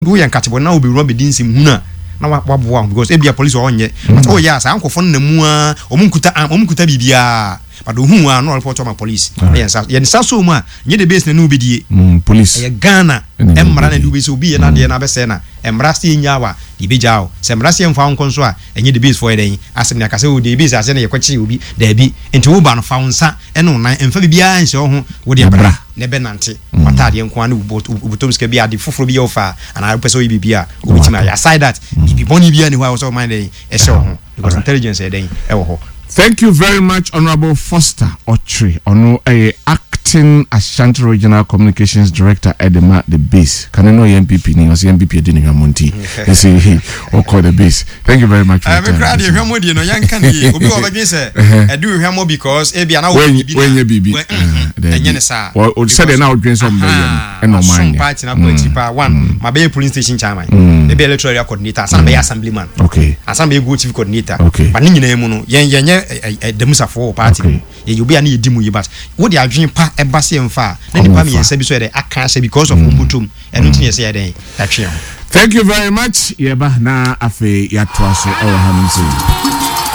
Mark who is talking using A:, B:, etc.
A: Woyɛ nkatebɔ na wobɛwura bɛdi nsɛm hunu a, na waboa wo because ebia police wɔ hɔ nyɛ. But woyɛ a, saa nkurɔfoɔ no nam mu ara, wɔn nkuta arm, wɔn nkuta biribiara. But ohuu wo a, na ɔreport ama police. Na yɛn nsa, yɛn nsa sɔ mu a, nyɛ the base na ne wo bɛdie.
B: Police.
A: Ɛyɛ Ghana mmara na ɛde wo bɛsi. Obi yɛ n'adeɛ na abɛsɛe na mmara se yɛnnyaa wo a, yɛbɛgyaa wo. Sɛ mmara se yɛmfa wo nkɔ nso a, ɛnyɛ the base foɔ yɛ dɛn asɛm na yɛaka sɛ oh the base aseɛ na yɛkɔkyee obi. Daabi. Nti wo ba no, fa wo nsa ne wo nan, mfa biribiara nhyɛ wo ho, wo deɛ bra na bɛnante. W'ataadeɛ nko ara ne wo bɔtɔm sika bi, ade foforɔ bi yɛ wo fɛ a, anaa wopɛ sɛ woyɛ biribi a, wobɛtumi ayɛ. Aside that, biribi bɔne biara nni hɔ a ɛwɔ sɛ woma yɛ dɛn ɛhyɛ wo ho. Because intelligence yɛ dɛn ɛwɔ hɔ.
B: Thank you very much Honourable Foster Ɔkyere, ɔno yɛ Acting Ashanti Regional Communications Director de ma The Base. Kane no ɔyɛ NPP ni, ɔsɛ NPP adi ne hwammɔ nti ɛsɛ ɔkɔ The Base. Thank you very much for your
A: time. Me koraa deɛ hwammɔ die no yɛnka ne yie. Obi wɔ ɔbɛdwen sɛ ɛdi wo hwammɔ because ebia na wɔ biribi na
B: wɔnyɛ biribi.
A: Ɛnyɛ ne saa.
B: Sɛdeɛ na ɔdwen sɛ ɔmbɛyɛ no ɛna ɔma anyɛ.
A: Masom party no akɔ akyiri paa. One, mabɛyɛ polling station chairman, mebɛyɛ electoral area coordinator, ansa na mɛyɛ assemblyman.
B: Okay.
A: Ansa na mɛyɛ go chief coordinator.
B: Okay.
A: But ne nyinaa mu no, yɛn yɛnyɛ ɛdamusafoɔ wɔ party no mu. Yɛyɛ obi a ne yɛdi mu yi but wode adwene pa ɛba sɛ yɛmfa a, na nipa mmiɛnsa bi so yɛ dɛ aka ahyɛ because of wɔn bɔtɔm. Ɛno nti na yɛsɛ yɛ dɛn yɛatwe yɛn ho.
B: Thank you very much. Yɛba na afei yɛatoa so ɛwɔ hanom sei.